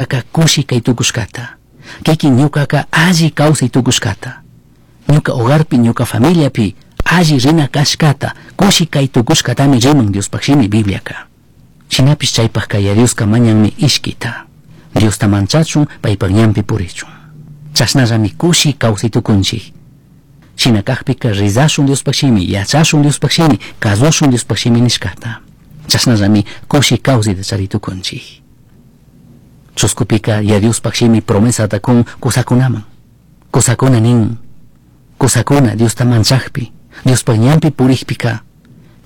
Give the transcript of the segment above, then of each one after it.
Kushi kay tukushkata. Kikin ñukaka alli kawsay tukushkata. Ñuka hogarpi, ñuka familiapi alli rina kashkata, kushi kay tukushkatami riman Diospaj shimi Bibliaka. Shinapish chaypajka Yaya Dioska mañanmi ishkita. Diosta manchachun, paypak ñanpi purichun. Chashnallami kushi kawsay tukunchik. Shina kajpika rizashun Diospaj shimi, yachashun Diospaj shimi, kazushun Diospaj shimi nishkata. Chashnallami kushi kawsayta chari tukunchik. Chuskupika Yaya Diospaj shimi promesata kun kusakunaman. Kusakuna nin, kusakuna Diosta manchajpi, Diospaj ñanpi purijpika,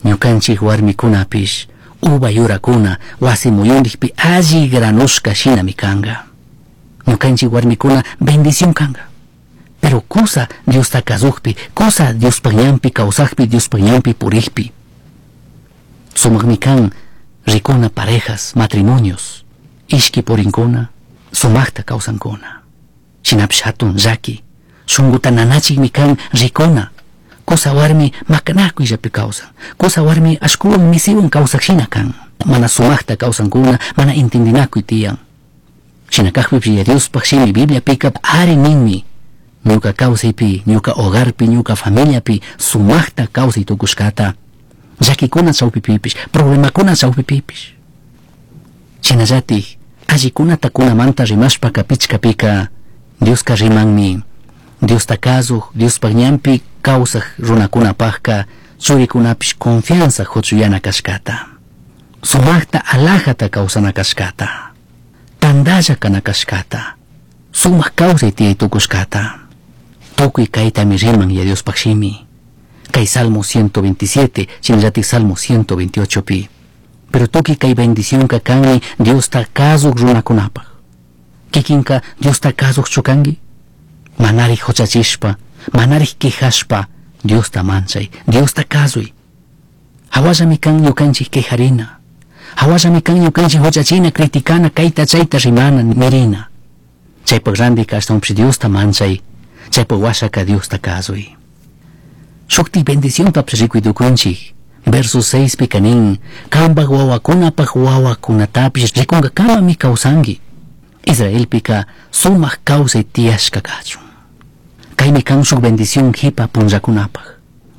ñukanchik warmikunapish, uva yurakuna wasi muyundikpi alli granushka shinami kanga. Ñukanchik warmikuna bendición kanga. Pero kusa Diosta kazujpi, kusa Diospaj ñanpi kawsajpi, Diospaj ñanpi purijpi. Sumakmi kan rikuna parejas, matrimonios, ishki purinkuna, sumakta kawsankuna. Shinapish hatun llaki, shunkuta nanachikmi kan rikuna. Kusa warmi makanakuyllapi kawsan, kusa warmi ashkuwan misiwan kawsaq shina kan. Mana sumakta kawsankuna, mana entendinakuy tiyan. Shina kajpipish Yaya Diospaj shimi Bibliapika ari ninmi. Ñuka kawsaypi, ñuka hogarpi, ñuka familiapi sumakta kawsay tukushkata. Llakikuna chawpipipish, problemakuna chawpipipish. Shinallatik, allikunata kunamanta rimashpaka pichkapika, Dioska rimanmi. Diosta kazuj, Diospaj ñanpi kawsaj runakunapajka churikunapish confianza huchuyana kashkata. Sumakta alajata kawsana kashkata. Tandalla kana kashkata. Sumak kawsay tiyay tukushkata. Tukuy kaytami riman Yaya Diospaj shimi. Kay Salmo 127, shinallatik Salmo 128 pi. Pero tukuy kay bendicionka kanmi Diosta kazuj runakunapaj. Kikinka Diosta kazujchu kanki? Manarik huchachishpa, manarik quejashpa, Diosta manchay, Diosta kazuy. Hawallami kan ñukanchik quejarina. Hawallami kan ñukanchik huchachina, criticana, kayta chayta rimana, nirina. Chaypak randika ashtawanpish Diosta manchay, chaypak washaka Diosta kazuy. Shuktik bendiciontapish rikuy tukunchik. Verso 6 pika nin, kampak wawakunapak wawakunatapish rikunkakamami kawsanki. Israelpika sumak kawsay tiyashka kachun. Kaymi kan shuk bendición jipa punllakunapaj.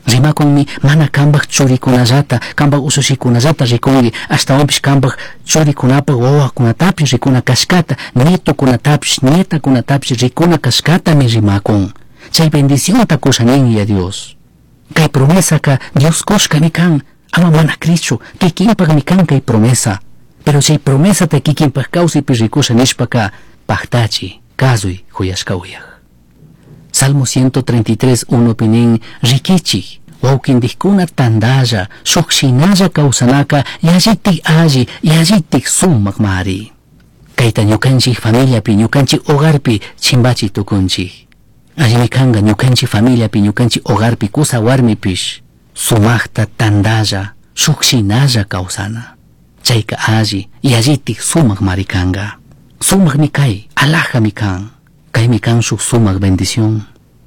Rimakunmi mana kampak churikunallata, kampak ushushikunallata rikunki, ashtawanpish kampak churikunapak wawakunatapish rikuna kashkata, nietokunatapish, nietakunatapish rikuna kashkatami rimakun. Chay bendicionta kusha nin ya Dios. Kay promesaka Dios kushkami kan, ama mana krichu, kikinpakmi kan kay promesa. Pero chay promesata kikinpak kawsaypi rikusha nishpaka paktachi, kazuy huyashka uyaj. Salmo 133, 1 pi nin, rikichik, wawkindikkuna tandalla, shuk shinalla kawsanaka, yallitik alli, yallitik sumakmari. Kayta ñukanchik familiapi, ñukanchik hogarpi chimbachi tukunchik. Allimi kanka ñukanchik familiapi, ñukanchik hogarpi, kusa warmipish, sumakta tandalla, shuk shinalla kawsana. Chayka alli, yallitik sumakmari kanka. Sumakmi kay, alajami kan. Kaymi kan shuk sumak bendición.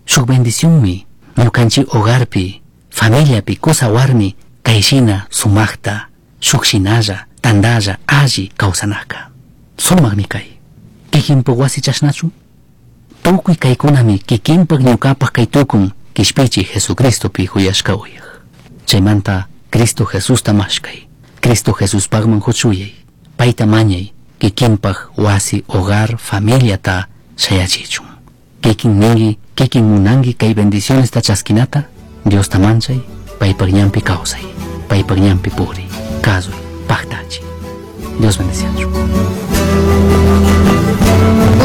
Shuk bendicionmi ñukanchik hogarpi, familiapi, kusa warmi, kayshina sumakta, shuk shinalla, tandalla, alli kawsanaka. Sumakmi kay. Kikinpak wasi chashnachu? Tukuy kaykunami kikinpak ñukapak kay tukun kishpichi Jesucristopi huyashka uyaj. Chaymanta Cristo Jesusta mashkay. Cristo Jesuspakman huchuyay. Payta mañay kikinpak wasi, hogar, familiata shayachichun. Kikin ninki, kikin munanki kay bendicionesta chaskinata, Diosta manchay, paypak ñanpi kawsay, paypak ñanpi puri, kazuy, paktachi. Dios bendeciachun.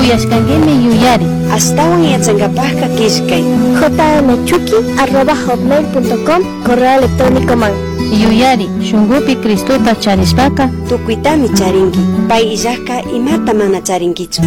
Uyashkankimi yuyari. Ashtawan yachankapajka killkay. jmchuki@hotmail.com correo electrónico man. Yuyari, shunkupi Cristota charishpaka Tukuytami charinki. Pay illajka imata mana charinkichu.